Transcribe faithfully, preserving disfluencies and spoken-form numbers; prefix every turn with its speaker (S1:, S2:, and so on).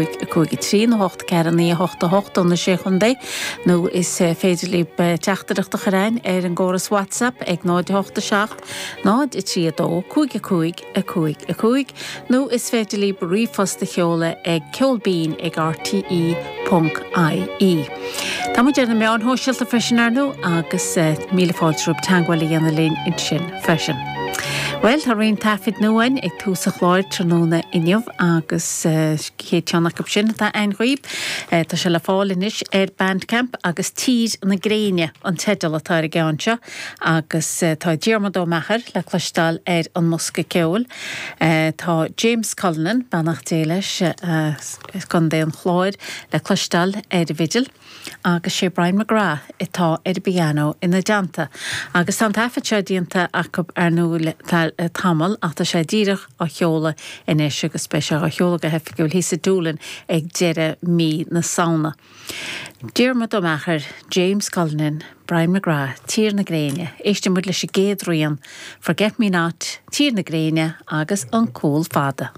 S1: cúig a trí nó hocht ceathair naoi a hocht a hocht do na Sé Chontae nó is féidir libh teachtaireacht a chur chugainn ar an gcóras WhatsApp ag náid hocht a seacht náid a trí a dó cúig a cúig a cúig a cúig nó is féidir libh ríomhphost a sheoladh ag ceolbinn ag RTE ponc IE. Tá muid ar na meáin shóisialta freisin ar ndóigh agus míle fáilte romhaibh teagmháil a dhéanamh linn ansin freisin. Well tá roinnt taifid nua ag tús an chláir tráthnóna inniu agus chéad cheann acu sin atá againn dhaoibh. Tá sé le fáil anois ar Bandcamp agus Tír na Gréine an teideal atá ar an gceann seo agus tá Diarmuid Ó Meachair le cloisteáil ar an mbosca ceoil. Tá James Cullinan beannacht Dé leis Contae an Chláir le cloisteáil ar an bhfidil. agus sé Brian McGrath atá ar an bpianó ina dteannta. Agus tá an taifead seo déanta acu ar ndóigh le tamall ach tá sé díreach á sheoladh anois agus beidh sé á sheoladh go hoifigiúil thíos i Doolin ag deireadh mí na Samhna. Diarmuid Ó Meachair, James Cullinan, Brian McGrath, Tír na Gréine, Éistfidh muid leis an gcéad rian, Forget Me Not, Tír na Gréine agus an Cúl Fada.